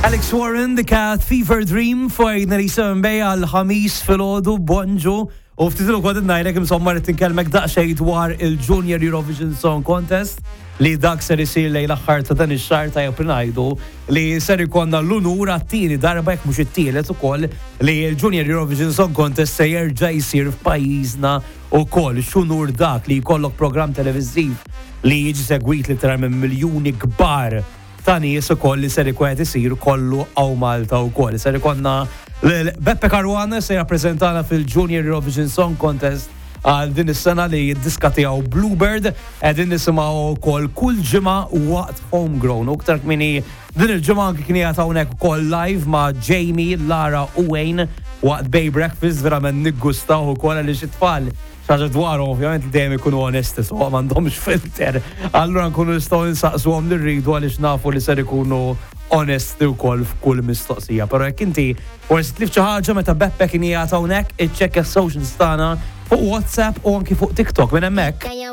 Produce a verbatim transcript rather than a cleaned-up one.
Alex Warren, The Cat Fever Dream fuq ninety-seven Bay għal-Ħamis filgħodu, bonġu. U ftit ilu kont ngħidlek, insomma, rrid inkellmek daqsxejn dwar il-Junior Eurovision Song Contest li dak ser isir lejn l-aħħar ta' dan ix-xahar. Tajjeb ngħidu li ser ikollna l-unur għat-tieni darba, jekk mhux it-tielet ukoll, li l-Junior Eurovision Song Contest se jerġa' jsir f'pajjiżna ukoll. X'unur dak li jkollok programm televiżiv li jiġi segwit literalment miljuni kbar ta' nies ukoll li ser ikun qed isir kollu hawn Malta wkoll. Ser ikollna Beppe Caruana se jirrappreżentana fil-Junior Eurovision Song Contest għal din is-sena li d-diska tiegħu Bluebird qegħdin nisimgħu wkoll kull ġimgħa waqt Homegrown. U iktar kmieni din il-ġimgħa anki kien qiegħed hawnhekk ukoll live ma' Jamie, Lara u Wayne waqt Bay Breakfast. Verament niggustaw ukoll għaliex it-tfal ħaġa dwarhom ovvjament li dejjem ikunu onesti, so m'għandhomx filter. Allura nkunu nistgħu nsaqsuhom li rridu għaliex nafu li ser ikunu onesti wkoll f'kull mistoqsija. Però jekk inti forsi tlift xi ħaġa meta Beppe kien qiegħed hawnhekk, iċċekkja s-socials tagħna fuq WhatsApp u anki fuq TikTok minn hemmhekk.